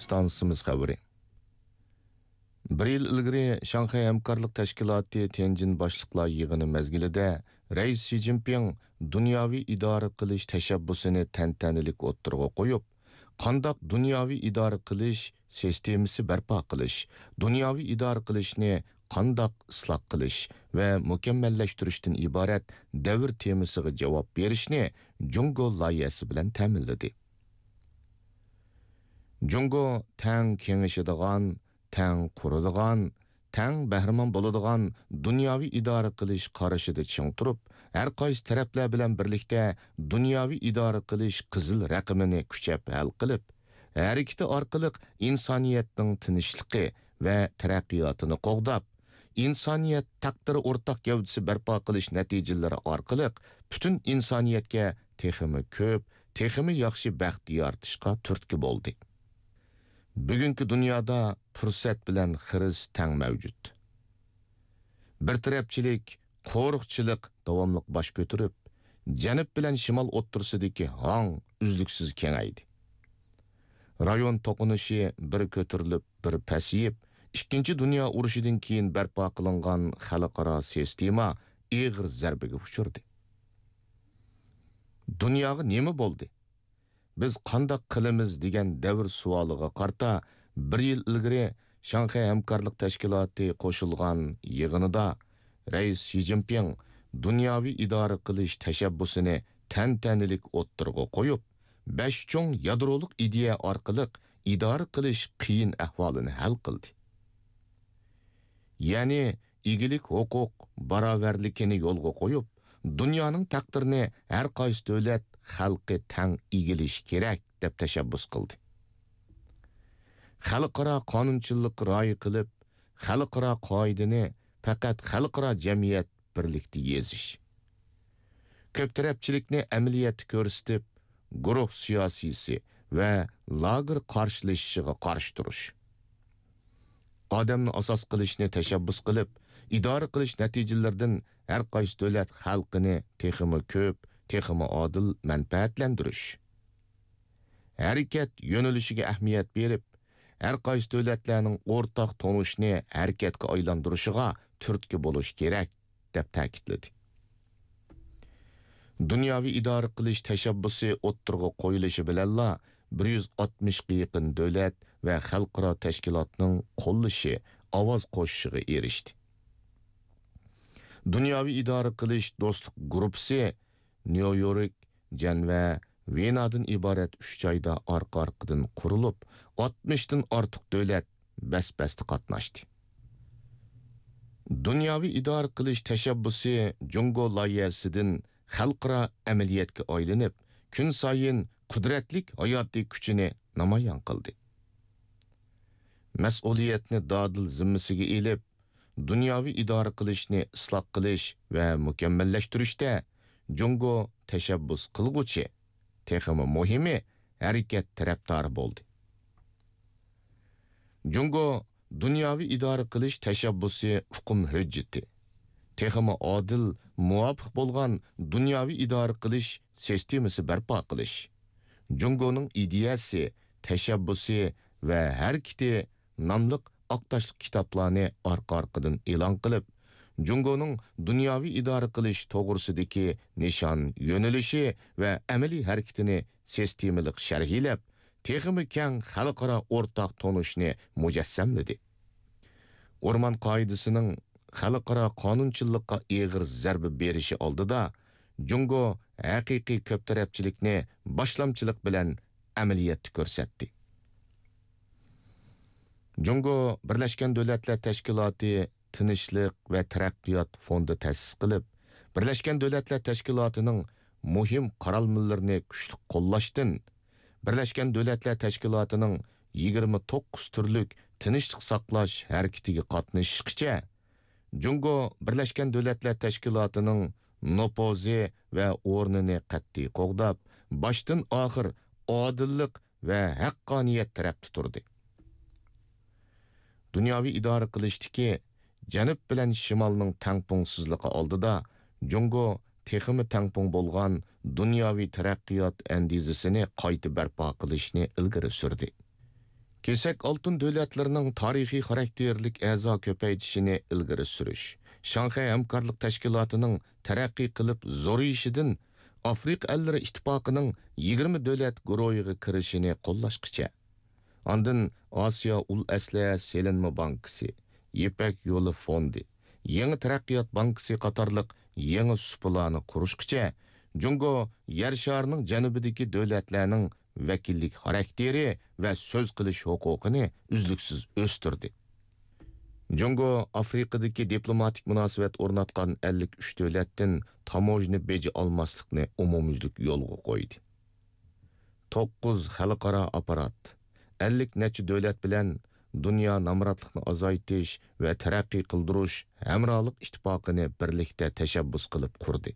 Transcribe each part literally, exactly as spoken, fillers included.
ئىستانسىمىز خەۋىرى. بىر يىل ئىلگىرى شاڭخەي ھەمكارلىق تەشكىلاتى تيەنجىن باشلىقلار يىغىنى مەزگىلىدە رەئىس شى جىنپىڭ دۇنياۋى ئىدارە قىلىش تەشەببۇسىنى تەنتەنىلىك ئوتتۇرىغا قويۇپ، قانداق دۇنياۋى ئىدارە قىلىش سىستېمىسى بەرپا قىلىش، دۇنياۋى ئىدارە قىلىشنى قانداق ئىسلاھ قىلىش ۋە مۇكەممەللەشتۈرۈشتىن ئىبارەت دەۋر تېمىسىغا جاۋاب بېرىشنى جۇڭگو لايىھەسى بىلەن تەمىنلىدى. جۇڭگو تەڭ كېڭىشىدىغان، تەڭ قۇرىدىغان، تەڭ بەھرىمەن بولىدىغان دۇنياۋى ئىدارە قىلىش قارىشىدا چىڭ تۇرۇپ، ھەر قايسى تەرەپلەر بىلەن بىرلىكتە دۇنياۋى ئىدارە قىلىش قىزىل رەقىمىنى كۈچەپ ھەل قىلىپ، ھەرىكىتى ئارقىلىق ئىنسانىيەتنىڭ تىنچلىقى ۋە تەرەققىياتىنى قوغداپ، ئىنسانىيەت تەقدىرى ئورتاق گەۋدىسى بەرپا قىلىش نەتىجىلىرى ئارقىلىق پۈتۈن ئىنسانىيەتكە تېخىمۇ كۆپ، تېخىمۇ ياخشى بەخت يارىتىشقا تۈرتكە بولدى. بۈگۈنكى دۇنيادا پۇرسەت بىلەن خىرىس تەڭ مەۋجۇت. بىر تەرەپچىلىك، قورۇقچىلىق داۋاملىق باش كۆتۈرۈپ، جەنۇب بىلەن شىمال ئوتتۇرىسىدىكى ھاڭ ئۈزلۈكسىز كېڭەيدى. رايون توقۇنۇشى بىر كۆتۈرۈلۈپ، بىر پەسىيىپ، ئىككىنچى دۇنيا ئۇرۇشىدىن كېيىن بەرپا قىلىنغان خەلقئارا سىستېما ئېغىر زەربىگە ئۇچرىدى. دۇنياغا نېمە بولدى؟ بىز قانداق قىلىمىز دېگەن دەۋر سوئالىغا قارىتا، بىر يىل ئىلگىرى شاڭخەي ھەمكارلىق تەشكىلاتى قوشۇلغان يىغىنىدا رەئىس شى جىنپىڭ دۇنياۋى ئىدارە قىلىش تەشەببۇسىنى تەنتەنىلىك ئوتتۇرىغا قويۇپ، بەش چوڭ يادرولۇق ئىدىيە ئارقىلىق ئىدارە قىلىش قىيىن ئەھۋالىنى ھەل قىلدى. يەنى ئىگىلىك ھوقۇق باراۋەرلىكىنى يولغا قويۇپ، دۇنيانىڭ تەقدىرىنى ھەر قايسى دۆلەت خەلقى تەڭ ئىگىلىشى كېرەك، دەپ تەشەببۇس قىلدى. خەلقئارا قانۇنچىللىققا رىئايە قىلىپ، خەلقئارا قائىدىنى پەقەت خەلقئارا جەمئىيەت بىرلىكتە يېزىش. كۆپ تەرەپچىلىكنى ئەمەلىيەتتە كۆرسىتىپ، گۇرۇھ سىياسىيسى ۋە لاگېر قارشىلىشىشىغا قارشى تۇرۇش. ئادەمنى ئاساس قىلىشنى تەشەببۇس قىلىپ، ئىدارە قىلىش نەتىجىلىرىدىن ھەر قايسى دۆلەت خەلقىنى تېخىمۇ كۆپ، تېخىمۇ ئادىل مەنپەئەتلەندۈرۈش. ھەرىكەت يۆنىلىشىگە ئەھمىيەت بېرىپ، ھەر قايسى دۆلەتلەرنىڭ ئورتاق تونۇشنى ھەرىكەتكە ئايلاندۇرۇشىغا تۈرتكە بولۇش كېرەك، دەپ تەكىتلىدى. دۇنياۋى ئىدارە قىلىش تەشەببۇسى ئوتتۇرىغا قويۇلۇشى بىلەنلا، بىر يۈز ئاتمىشقا يېقىن دۆلەت ۋە خەلقئارا تەشكىلاتنىڭ قوللىشى، ئاۋاز قوشۇشىغا ئېرىشتى. دۇنياۋى ئىدارە قىلىش دوستلۇق گۇرۇپپىسى نيۇ يورك، جەنۋە، ۋېنادىن ئىبارەت ئۈچ جايدا ئارقا-ئارقىدىن قۇرۇلۇپ، ئاتمىشتىن ئارتۇق دۆلەت بەس-بەستە قاتناشتى. دۇنياۋى ئىدارە قىلىش تەشەببۇسى جۇڭگو لايىھەسىدىن خەلقئارا ئەمەلىيەتكە ئايلىنىپ، كۈنسايىن قۇدرەتلىك ھاياتىي كۈچىنى نامايان قىلدى. مەسئۇلىيەتنى دادىل زىممىسىگە ئېلىپ، دۇنياۋى ئىدارە قىلىشنى ئىسلاھ قىلىش ۋە مۇكەممەللەشتۈرۈشتە جۇڭگو تەشەببۇس قىلغۇچى، تېخىمۇ مۇھىمى، ھەرىكەت تەرەپدارى بولدى. جۇڭگو دۇنياۋى ئىدارە قىلىش تەشەببۇسى ئۇقۇم ھۆججىتى، تېخىمۇ ئادىل، مۇۋاپىق بولغان دۇنياۋى ئىدارە قىلىش سىستېمىسى بەرپا قىلىش، جۇڭگونىڭ ئىدىيەسى، تەشەببۇسى ۋە ھەرىكىتى ناملىق ئاق تاشلىق كىتابلارنى ئارقا-ئارقىدىن ئېلان قىلىپ، جۇڭگونىڭ دۇنياۋى ئىدارە قىلىش توغرىسىدىكى نىشان، يۆنىلىشى ۋە ئەمەلىي ھەرىكىتىنى سىستېمىلىق شەرھلەپ، تېخىمۇ كەڭ خەلقئارا ئورتاق تونۇشنى مۇجەسسەملىدى. ئورمان قائىدىسىنىڭ خەلقئارا قانۇنچىللىققا ئېغىر زەربە بېرىشى ئالدىدا، جۇڭگو ھەقىقىي كۆپ تەرەپچىلىكنى باشلامچىلىق بىلەن ئەمەلىيەتتە كۆرسەتتى. جۇڭگو بىرلەشكەن دۆلەتلەر تەشكىلاتى تىنچلىق ۋە تەرەققىيات فوندى تەسىس قىلىپ، بىرلەشكەن دۆلەتلەر تەشكىلاتىنىڭ مۇھىم قارالمىلىرىنى كۈچلۈك قوللاشتىن، بىرلەشكەن دۆلەتلەر تەشكىلاتىنىڭ يىگىرمە توققۇز تۈرلۈك تىنچلىق ساقلاش ھەرىكىتىگە قاتنىشىشقىچە، جۇڭگو بىرلەشكەن دۆلەتلەر تەشكىلاتىنىڭ نوپۇزى ۋە ئورنىنى قەتئىي قوغداپ، باشتىن ئاخىر ئادىللىق ۋە ھەققانىيەت تەرەپتە تۇردى. دۇنياۋى ئىدارە قىلىشتىكى جەنۇب بىلەن شىمالنىڭ تەڭپۇڭسىزلىقى ئالدىدا، جۇڭگو تېخىمۇ تەڭپۇڭ بولغان دۇنياۋى تەرەققىيات ئەندىزىسىنى قايتا بەرپا قىلىشنى ئىلگىرى سۈردى. كېسەك ئالتۇن دۆلەتلىرىنىڭ تارىخىي خاراكتېرلىك ئەزا كۆپەيتىشىنى ئىلگىرى سۈرۈش، شاڭخەي ھەمكارلىق تەشكىلاتىنىڭ تەرەققىي قىلىپ زورىيىشىدىن ئافرىقا ئەللىرى ئىتتىپاقىنىڭ يىگىرمە دۆلەت گۇرۇھىغا كىرىشىنى قوللاشقىچە، ئاندىن ئاسىيا ئۇل ئەسلىھە سېلىنما بانكىسى، يىپەك يولى فوندى، يېڭى تەرەققىيات بانكىسى قاتارلىق يېڭى سۇپىلارنى قۇرۇشقىچە، جۇڭگو يەر شارىنىڭ جەنۇبىدىكى دۆلەتلەرنىڭ ۋەكىللىك خاراكتېرى ۋە سۆز قىلىش ھوقۇقىنى ئۈزلۈكسىز ئۆستۈردى. جۇڭگو ئافرىقىدىكى دىپلوماتىك مۇناسىۋەت ئورناتقان ئەللىك ئۈچ دۆلەتتىن تاموژنا بېجى ئالماسلىقنى ئومۇميۈزلۈك يولغا قويدى. توققۇز خەلقئارا ئاپپارات، ئەللىك نەچچە دۆلەت بىلەن دۇنيا نامراتلىقنى ئازايتىش ۋە تەرەققىي قىلدۇرۇش ھەمراھلىق ئىتتىپاقىنى بىرلىكتە تەشەببۇس قىلىپ قۇردى.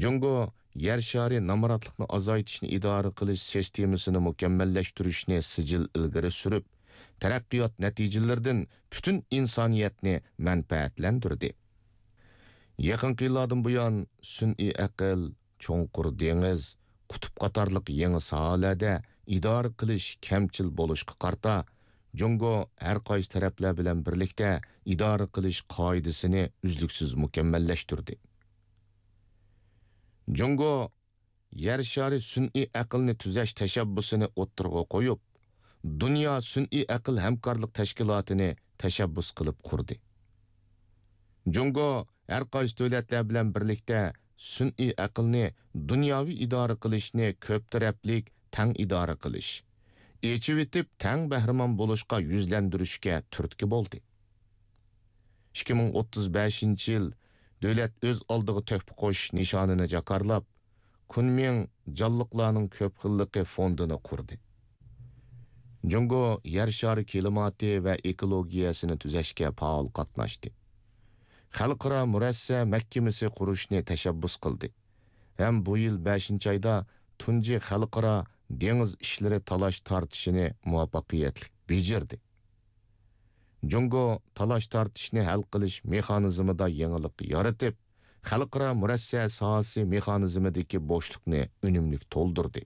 جۇڭگو يەر شارى نامراتلىقنى ئازايتىشنى ئىدارە قىلىش سىستېمىسىنى مۇكەممەللەشتۈرۈشنى سىجىل ئىلگىرى سۈرۈپ، تەرەققىيات نەتىجىلىرىدىن پۈتۈن ئىنسانىيەتنى مەنپەئەتلەندۈردى. يېقىنقى يىللاردىن بۇيان، سۈنئىي ئەقىل، چوڭقۇر دېڭىز، قۇتۇپ قاتارلىق يېڭى ساھەلەردە ئىدارە قىلىش كەمچىل بولۇشقا قارىتا، جۇڭگو ھەر قايسى تەرەپلەر بىلەن بىرلىكتە ئىدارە قىلىش قائىدىسىنى ئۈزلۈكسىز مۇكەممەللەشتۈردى. جۇڭگو يەر شارى سۈنئىي ئەقىلنى تۈزەش تەشەببۇسىنى ئوتتۇرىغا قويۇپ، دۇنيا سۈنئىي ئەقىل ھەمكارلىق تەشكىلاتىنى تەشەببۇس قىلىپ قۇردى. جۇڭگو ھەر قايسى دۆلەتلەر بىلەن بىرلىكتە سۈنئىي ئەقىلنى دۇنياۋى ئىدارە قىلىشنى كۆپ تەرەپلىك تەڭ ئىدارە قىلىش، ئېچىۋېتىپ تەڭ بەھرىمەن بولۇشقا يۈزلەندۈرۈشكە تۈرتكە بولدى. ئىككى مىڭ ئوتتۇز بەشىنچى يىل دۆلەت ئۆز ئالدىغا تۆھپە قوشۇش نىشانىنى جاكارلاپ، كۇنمىڭ جانلىقلارنىڭ كۆپ خىللىقى فوندىنى قۇردى. جۇڭگو يەر شارى كىلىماتى ۋە ئېكولوگىيەسىنى تۈزەشكە پائال قاتناشتى. خەلقئارا مۇرەسسە مەھكىمىسى قۇرۇشنى تەشەببۇس قىلدى ھەم بۇ يىل بەشىنچى ئايدا تۇنجى خەلقئارا دېڭىز ئىشلىرى تالاش تارتىشىنى مۇۋەپپەقىيەتلىك بېجىردى. جۇڭگو تالاش تارتىشنى ھەل قىلىش مېخانىزمىدا يېڭىلىق يارىتىپ، خەلقئارا مۇرەسسە ساھەسى مېخانىزمىدىكى بوشلۇقنى ئۈنۈملۈك تولدۇردى.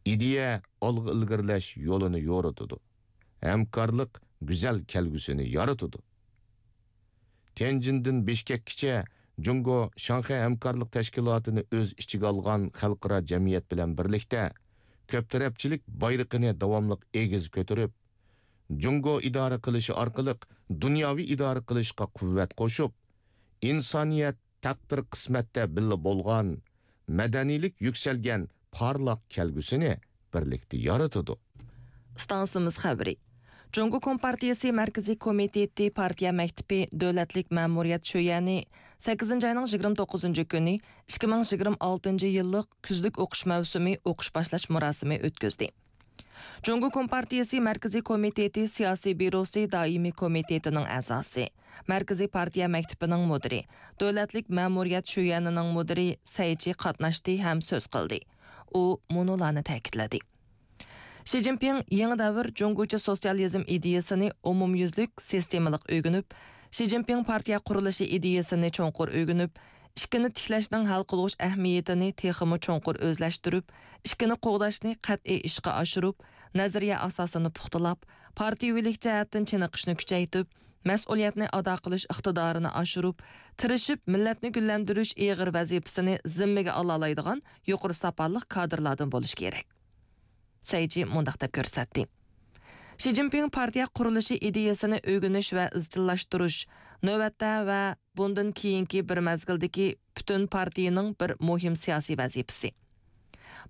ئىدىيە ئالغا ئىلگىرىلەش يولىنى يورۇتىدۇ، ھەمكارلىق گۈزەل كەلگۈسىنى يارىتىدۇ. تيەنجىندىن بىشكەككىچە جۇڭگو شاڭخەي ھەمكارلىق تەشكىلاتىنى ئۆز ئىچىگە ئالغان خەلقئارا جەمئىيەت بىلەن بىرلىكتە، كۆپ تەرەپچىلىك بايرىقىنى داۋاملىق ئېگىز كۆتۈرۈپ، جۇڭگو ئىدارە قىلىشى ئارقىلىق دۇنياۋى ئىدارە قىلىشقا قۇۋۋەت قوشۇپ، ئىنسانىيەت تەقدىر قىسمەتتە بىللە بولغان، مەدەنىيلىك يۈكسەلگەن پارلاق كەلگۈسىنى بىرلىكتە يارىتىدۇ. ئىستانسىمىز خەۋىرى. جۇڭگو كومپارتىيىسى مەركىزىي كومىتېتى پارتىيە مەكتىپى دۆلەتلىك مەمۇرىيەت شۆيەنى سەككىزىنچى ئاينىڭ يىگىرمە توققۇزىنچى كۈنى ئىككى مىڭ يىگىرمە ئالتىنچى يىللىق كۈزلۈك ئوقۇش مەۋسۇمى ئوقۇش باشلاش مۇراسىمى ئۆتكۈزدى. جۇڭگو كومپارتىيىسى مەركىزىي كومىتېتى سىياسىي بيۇروسى دائىمىي كومىتېتىنىڭ ئەزاسى، مەركىزىي پارتىيە مەكتىپىنىڭ مۇدىرى، دۆلەتلىك مەمۇرىيەت شۆيەنىنىڭ مۇدىرى سەي چى قاتناشتى ھەم سۆز قىلدى. ئۇ مۇنۇلارنى تەكىتلىدى. شى جىنپىڭ يېڭى دەۋر جۇڭگوچە سوتسىيالىزم ئىدىيەسىنى ئومۇميۈزلۈك سىستېمىلىق ئۆگىنىپ، شى جىنپىڭ پارتىيە قۇرۇلۇشى ئىدىيەسىنى چوڭقۇر ئۆگىنىپ، ئىككىنى تىكلەشنىڭ ھەل قىلغۇچ ئەھمىيىتىنى تېخىمۇ چوڭقۇر ئۆزلەشتۈرۈپ، ئىككىنى قوغداشنى قەتئىي ئىشقا ئاشۇرۇپ، نەزەرىيە ئاساسىنى پۇختىلاپ، پارتىيەۋىلىك جەھەتتىن چېنىقىشنى كۈچەيتىپ، مەسئۇلىيەتنى ئادا قىلىش ئىقتىدارىنى ئاشۇرۇپ، تىرىشىپ مىللەتنى گۈللەندۈرۈش ئېغىر ۋەزىپىسىنى زىممىگە ئالالايدىغان يۇقىرى ساپالىق كادىرلاردىن بولۇشى كېرەك. سەي چى مۇنداق دەپ كۆرسەتتى. شى جىنپىڭ پارتىيە قۇرۇلۇشى ئىدىيەسىنى ئۆگىنىش ۋە ئىزچىللاشتۇرۇش نۆۋەتتە ۋە بۇندىن كېيىنكى بىر مەزگىلدىكى پۈتۈن پارتىيىنىڭ بىر مۇھىم سىياسىي ۋەزىپىسى.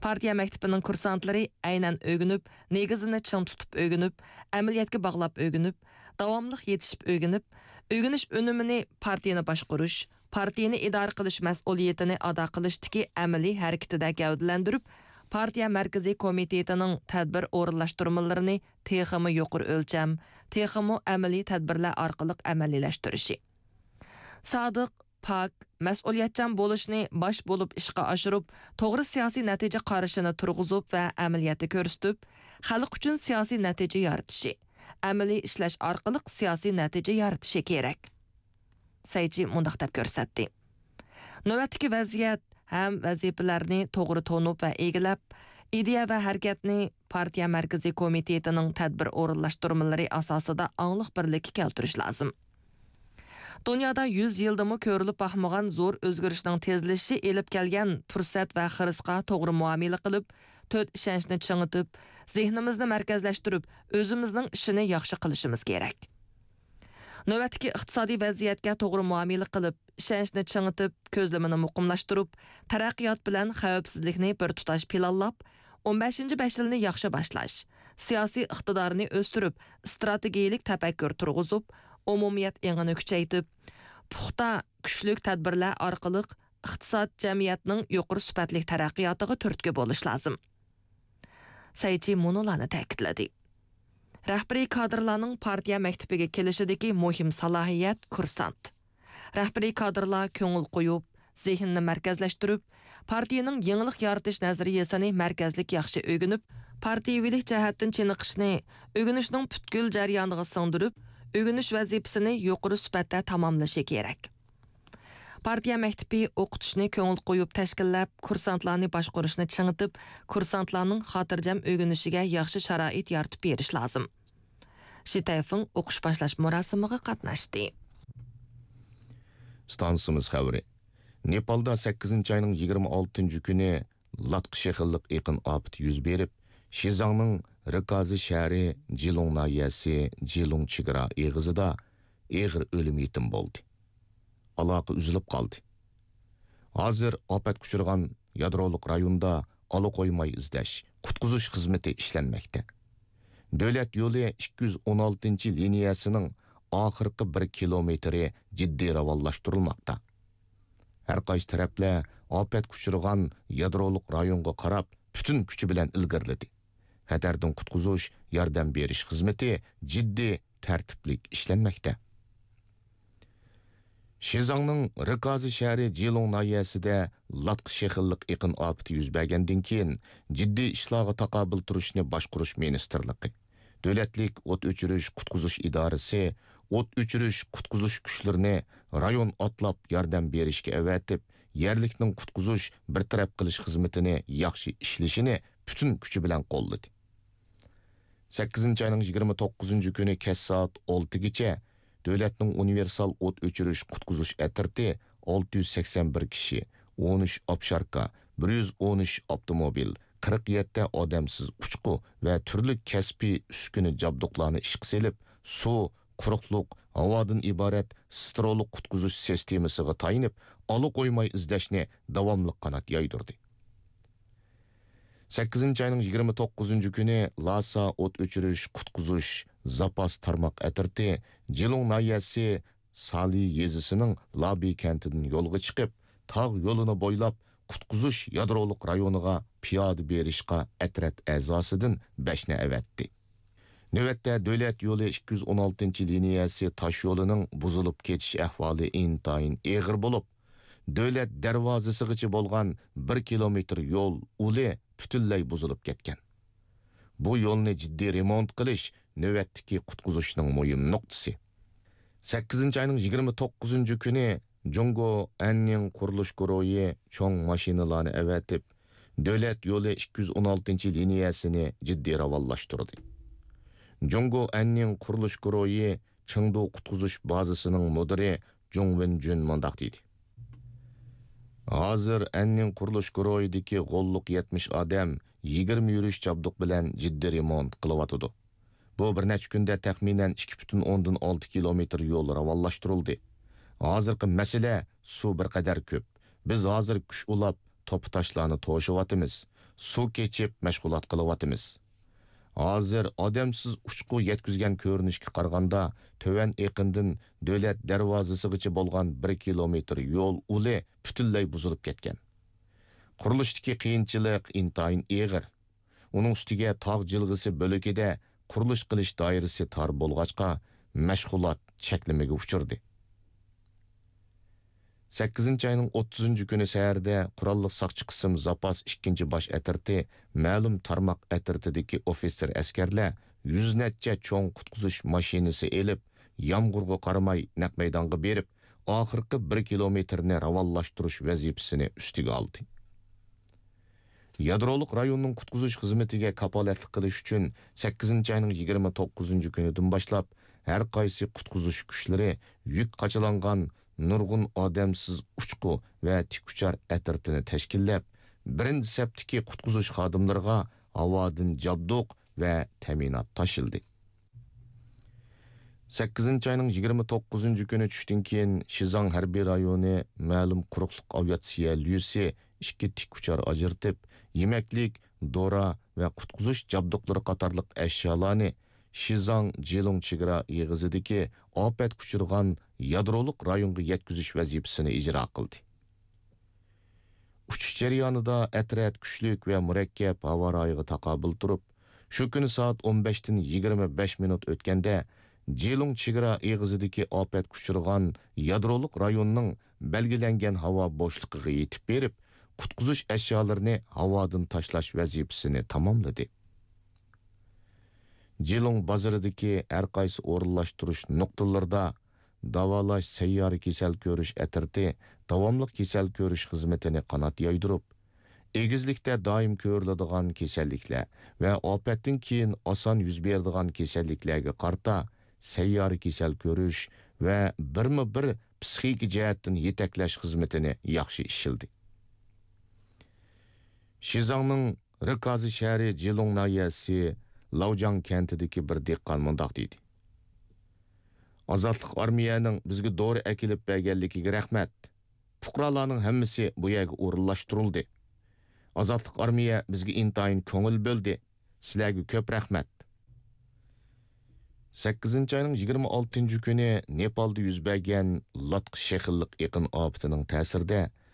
پارتىيە مەكتىپىنىڭ كۇرسانتلىرى ئەينەن ئۆگىنىپ، نېگىزىنى چىڭ تۇتۇپ ئۆگىنىپ، ئەمەلىيەتكە باغلاپ ئۆگىنىپ، داۋاملىق يېتىشىپ ئۆگىنىپ، ئۆگىنىش ئۈنۈمىنى پارتىيىنى باشقۇرۇش، پارتىيىنى ئىدارە قىلىش مەسئۇلىيىتىنى ئادا قىلىشتىكى ئەمەلىي ھەرىكىتىدە گەۋدىلەندۈرۈپ، پارتىيە مەركىزىي كومىتېتىنىڭ تەدبىر ئورۇنلاشتۇرمىلىرىنى تېخىمۇ يۇقىرى ئۆلچەم، تېخىمۇ ئەمەلىي تەدبىرلەر ئارقىلىق ئەمەلىيلەشتۈرۈشى. سادىق، پاك، مەسئۇلىيەتچان بولۇشنى باش بولۇپ ئىشقا ئاشۇرۇپ، توغرا سىياسىي نەتىجە قارىشىنى تۇرغۇزۇپ ۋە ئەمەلىيەتتە كۆرسىتىپ، خەلق ئۈچۈن سىياسىي نەتىجە يارىتىشى، ئەمەلىي ئىشلەش ئارقىلىق سىياسىي نەتىجە يارىتىشى كېرەك. سەي چى مۇنداق دەپ كۆرسەتتى. نۆۋەتتىكى ۋەزىيەت ھەم ۋەزىپىلەرنى توغرا تونۇپ ۋە ئىگىلەپ، ئىدىيە ۋە ھەرىكەتنى پارتىيە مەركىزىي كومىتېتىنىڭ تەدبىر ئورۇنلاشتۇرمىلىرى ئاساسىدا ئاڭلىق بىرلىككە كەلتۈرۈش لازىم. دۇنيادا يۈز يىلدىمۇ كۆرۈلۈپ باقمىغان زور ئۆزگىرىشنىڭ تېزلىشىشى ئېلىپ كەلگەن پۇرسەت ۋە خىرىسقا توغرا مۇئامىلە قىلىپ، تۆت ئىشەنچنى چىڭىتىپ، زېھنىمىزنى مەركەزلەشتۈرۈپ، ئۆزىمىزنىڭ ئىشىنى ياخشى قىلىشىمىز كېرەك. نۆۋەتتىكى ئىقتىسادىي ۋەزىيەتكە توغرا مۇئامىلە قىلىپ، ئىشەنچنى چىڭىتىپ، كۆزلىمىنى مۇقىملاشتۇرۇپ، تەرەققىيات بىلەن خەۋپسىزلىكنى بىر تۇتاش پىلانلاپ، ئون بەشىنچى بەش يىلنى ياخشى باشلاش، سىياسىي ئىقتىدارنى ئۆستۈرۈپ، ئىستراتېگىيەلىك تەپەككۇر تۇرغۇزۇپ، ئومۇمىيەت ئېڭىنى كۈچەيتىپ، پۇختا، كۈچلۈك تەدبىرلەر ئارقىلىق ئىقتىساد، جەمئىيەتنىڭ يۇقىرى سۈپەتلىك تەرەققىياتىغا تۈرتكە بولۇش لازىم. سەيچى مۇنۇلارنى تەكىتلىدى. رەھبىرىي كادىرلارنىڭ پارتىيە مەكتىپىگە كېلىشىدىكى مۇھىم سالاھىيەت كۇرسانت. رەھبىرىي كادىرلار كۆڭۈل قويۇپ، زېھنىنى مەركەزلەشتۈرۈپ، پارتىيەنىڭ يېڭىلىق يارىتىش نەزەرىيەسىنى مەركەزلىك ياخشى ئۆگىنىپ، پارتىيىۋىلىك جەھەتتىن چېنىقىشنى ئۆگىنىشنىڭ پۈتكۈل جەريانىغا سىڭدۈرۈپ، ئۆگىنىش ۋەزىپىسىنى يۇقىرى سۈپەتتە تاماملىشى كېرەك. پارتىيە مەكتىپى ئوقۇتۇشنى كۆڭۈل قويۇپ تەشكىللەپ، كۇرسانتلارنى باشقۇرۇشنى چىڭىتىپ، كۇرسانتلارنىڭ خاتىرجەم ئۆگىنىشىگە ياخشى شارائىت يارىتىپ بېرىش لازىم. شى تەيفېڭ ئوقۇش باشلاش مۇراسىمىغا قاتناشتى. ئىستانسىمىز خەۋىرى. نېپالدا سەككىزىنچى ئاينىڭ يىگىرمە ئالتىنچى كۈنى لاتقا شېخىللىق ئېقىن ئاپىتى يۈز بېرىپ، شىزاڭنىڭ رىكازى شەھىرى جىلۇڭ ناھىيەسى جىلۇڭ چېگرا ئېغىزىدا ئېغىر ئۆلۈم يېتىم بولدى. ئالاقە ئۈزۈلۈپ قالدى. ھازىر ئاپەتكە ئۇچرىغان يادرولۇق رايوندا ئالا قويماي ئىزدەش، قۇتقۇزۇش خىزمىتى ئىشلەنمەكتە. دۆلەت يولى ئىككى يۈز ئون ئالتىنچى لىنىيەسىنىڭ ئاخىرقى بىر كىلومېتىرى جىددىي راۋانلاشتۇرۇلماقتا. ھەر قايسى تەرەپلەر ئاپەتكە ئۇچرىغان يادرولۇق رايونغا قاراپ پۈتۈن كۈچى بىلەن ئىلگىرىلىدى. خەتەردىن قۇتقۇزۇش، ياردەم بېرىش خىزمىتى جىددىي، تەرتىپلىك ئىشلەنمەكتە. شىزاڭنىڭ رىكازى شەھىرى جىلۇڭ ناھىيەسىدە لاتقا شېخىللىق ئېقىن ئاپىتى يۈز بەرگەندىن كېيىن، جىددىي ئىشلارغا تاقابىل تۇرۇشنى باشقۇرۇش مىنىستىرلىقى، دۆلەتلىك ئوت ئۆچۈرۈش قۇتقۇزۇش ئىدارىسى ئوت ئۆچۈرۈش قۇتقۇزۇش كۈچلىرىنى رايون ئاتلاپ ياردەم بېرىشكە ئەۋەتىپ، يەرلىكنىڭ قۇتقۇزۇش، بىر تەرەپ قىلىش خىزمىتىنى ياخشى ئىشلىشىنى پۈتۈن كۈچى بىلەن قوللىدى. سەككىزىنچى ئاينىڭ يىگىرمە توققۇزىنچى كۈنى كەچ سائەت ئالتىگىچە دۆلەتنىڭ ئۇنىۋېرسال ئوت ئۆچۈرۈش قۇتقۇزۇش ئەترىتى ئالتە يۈز سەكسەن بىر كىشى، ئون ئۈچ ئاپشاركا، بىر يۈز ئون ئۈچ ئاپتوموبىل، قىرىق يەتتە ئادەمسىز ئۇچقۇ ۋە تۈرلۈك كەسپىي ئۈسكۈنە جابدۇقلارنى ئىشقا سېلىپ، سۇ، قۇرۇقلۇق، ھاۋادىن ئىبارەت سترولۇق قۇتقۇزۇش سىستېمىسىغا تايىنىپ، ئالا قويماي ئىزدەشنى داۋاملىق قانات يايدۇردى. سەككىزىنچى ئاينىڭ يىگىرمە توققۇزىنچى كۈنى لاسا ئوت ئۆچۈرۈش قۇتقۇزۇش زاپاس تارماق ئەترىتى جىلۇڭ ناھىيەسى سالى يېزىسىنىڭ لابى كەنتىدىن يولغا چىقىپ، تاغ يولىنى بويلاپ قۇتقۇزۇش يادرولۇق رايونىغا پىيادە بېرىشقا ئەترەت ئەزاسىدىن بەشنى ئەۋەتتى. نۆۋەتتە دۆلەت يولى ئىككى يۈز ئون ئالتىنچى لىنىيەسى تاش يولىنىڭ بۇزۇلۇپ كېتىش ئەھۋالى ئىنتايىن ئېغىر بولۇپ، دۆلەت دەرۋازىسىغىچە بولغان بىر كىلومېتىر يول ئۇلى پۈتۈنلەي بۇزۇلۇپ كەتكەن. بۇ يولنى جىددىي رېمونت قىلىش نۆۋەتتىكى قۇتقۇزۇشنىڭ مۇھىم نۇقتىسى. سەككىزىنچى ئاينىڭ يىگىرمە توققۇزىنچى كۈنى جۇڭگو ئەننىڭ قۇرۇلۇش گۇرۇھى چوڭ ماشىنىلارنى ئەۋەتىپ، دۆلەت يولى ئىككى يۈز ئون ئالتىنچى لىنىيەسىنى جىددىي راۋانلاشتۇردى. جۇڭگو ئەننىڭ قۇرۇلۇش گۇرۇھى چېڭدۇ قۇتقۇزۇش بازىسىنىڭ مۇدىرى جۇڭ ۋېنجۈن مۇنداق دېدى: ھازىر ئەننىڭ قۇرۇلۇش گۇرۇھىدىكى غوللۇق يەتمىش ئادەم يىگىرمە يۈرۈش جابدۇق بىلەن جىددىي رېمونت قىلىۋاتىدۇ. بۇ بىر نەچچە كۈندە تەخمىنەن ئىككى پۈتۈن ئوندىن ئالتە كىلومېتىر يول راۋانلاشتۇرۇلدى. ھازىرقى مەسىلە سۇ بىر قەدەر كۆپ. بىز ھازىر كۈچ ئۇلاپ، توپا تاشلارنى توشۇۋاتىمىز. سۇ كېچىپ مەشغۇلات قىلىۋاتىمىز. ھازىر ئادەمسىز ئۇچقۇ يەتكۈزگەن كۆرۈنۈشكە قارىغاندا، تۆۋەن ئېقىندىن دۆلەت دەرۋازىسىغىچە بولغان بىر كىلومېتىر يول ئۇلى پۈتۈنلەي بۇزۇلۇپ كەتكەن. قۇرۇلۇشتىكى قىيىنچىلىق ئىنتايىن ئېغىر. ئۇنىڭ ئۈستىگە تاغ جىلغىسى بۆلىكىدە قۇرۇلۇش قىلىش دائىرىسى تار بولغاچقا، مەشغۇلات چەكلىمىگە ئۇچرىدى. سەككىزىنچى ئاينىڭ ئوتتۇزىنچى كۈنى سەھەردە قوراللىق ساقچى قىسىم زاپاس ئىككىنچى باش ئەترىتى مەلۇم تارماق ئەترىتىدىكى ئوفىتسېر ئەسكەرلەر يۈز نەچچە چوڭ قۇتقۇزۇش ماشىنىسى ئېلىپ، يامغۇرغا قارىماي نەق مەيدانغا بېرىپ، ئاخىرقى بىر كىلومېتىرنى راۋانلاشتۇرۇش ۋەزىپىسىنى ئۈستىگە ئالدى. يادرولۇق رايوننىڭ قۇتقۇزۇش خىزمىتىگە كاپالەتلىك قىلىش ئۈچۈن، سەككىزىنچى ئاينىڭ يىگىرمە توققۇزىنچى كۈنىدىن باشلاپ، ھەر قايسى قۇتقۇزۇش كۈچلىرى يۈك قاچىلانغان نۇرغۇن ئادەمسىز ئۇچقۇ ۋە تىكئۇچار ئەترىتىنى تەشكىللەپ، بىرىنچى سەپتىكى قۇتقۇزۇش خادىملىرىغا ھاۋادىن جابدۇق ۋە تەمىنات تاشلىدى. سەككىزىنچى ئاينىڭ يىگىرمە توققۇزىنچى كۈنى چۈشتىن كېيىن، شىزاڭ ھەربىي رايونى مەلۇم قۇرۇقلۇق ئاۋىئاتسىيە ليۇسى ئىككى تىك ئۇچار ئاجرىتىپ، يېمەكلىك، دورا ۋە قۇتقۇزۇش جابدۇقلىرى قاتارلىق ئەشيالارنى شىزاڭ جىلۇڭ چېگرا ئېغىزىدىكى ئاپەتكە ئۇچرىغان يادرولۇق رايونغا يەتكۈزۈش ۋەزىپىسىنى ئىجرا قىلدى. ئۇچۇش جەريانىدا ئەترەت كۈچلۈك ۋە مۇرەككەپ ھاۋا رايىغا تاقابىل تۇرۇپ، شۇ كۈنى سائەت ئون بەشتىن يىگىرمە بەش مىنۇت ئۆتكەندە، جىلۇڭ چېگرا ئېغىزىدىكى ئاپەتكە ئۇچرىغان يادرولۇق رايوننىڭ بەلگىلەنگەن ھاۋا بوشلۇقىغا يېتىپ بېرىپ، قۇتقۇزۇش ئەشيالىرىنى ھاۋادىن تاشلاش ۋەزىپىسىنى تاماملىدى. جىلۇڭ بازىرىدىكى ھەر قايسى ئورۇنلاشتۇرۇش نۇقتىلىرىدا داۋالاش سەييارە كېسەل كۆرۈش ئەترىتى داۋاملىق كېسەل كۆرۈش خىزمىتىنى قانات يايدۇرۇپ، ئېگىزلىكتە دائىم كۆرۈلىدىغان كېسەللىكلەر ۋە ئاپەتتىن كېيىن ئاسان يۈز بېرىدىغان كېسەللىكلەرگە قارىتا سەييارە كېسەل كۆرۈش ۋە بىرمۇ بىر پسىخىكا جەھەتتىن يېتەكلەش خىزمىتىنى ياخشى ئىشلىدى. شىزاڭنىڭ رىكازى شەھىرى جىلۇڭ ناھىيەسى لاۋجاڭ كەنتىدىكى بىر دېھقان مۇنداق دېدى: «ئازادلىق ئارمىيەنىڭ بىزگە دورا ئەكېلىپ بەرگەنلىكىگە رەھمەت. پۇقرالارنىڭ ھەممىسى بۇ يەرگە ئورۇنلاشتۇرۇلدى. ئازادلىق ئارمىيە بىزگە ئىنتايىن كۆڭۈل بۆلدى. سىلەرگە كۆپ رەھمەت.» سەككىزىنچى ئاينىڭ يىگىرمە ئالتىنچى كۈنى نېپالدا يۈز بەرگەن لاتقا شېخىللىق ئېقىن ئاپىتىنىڭ تەسىرىدە،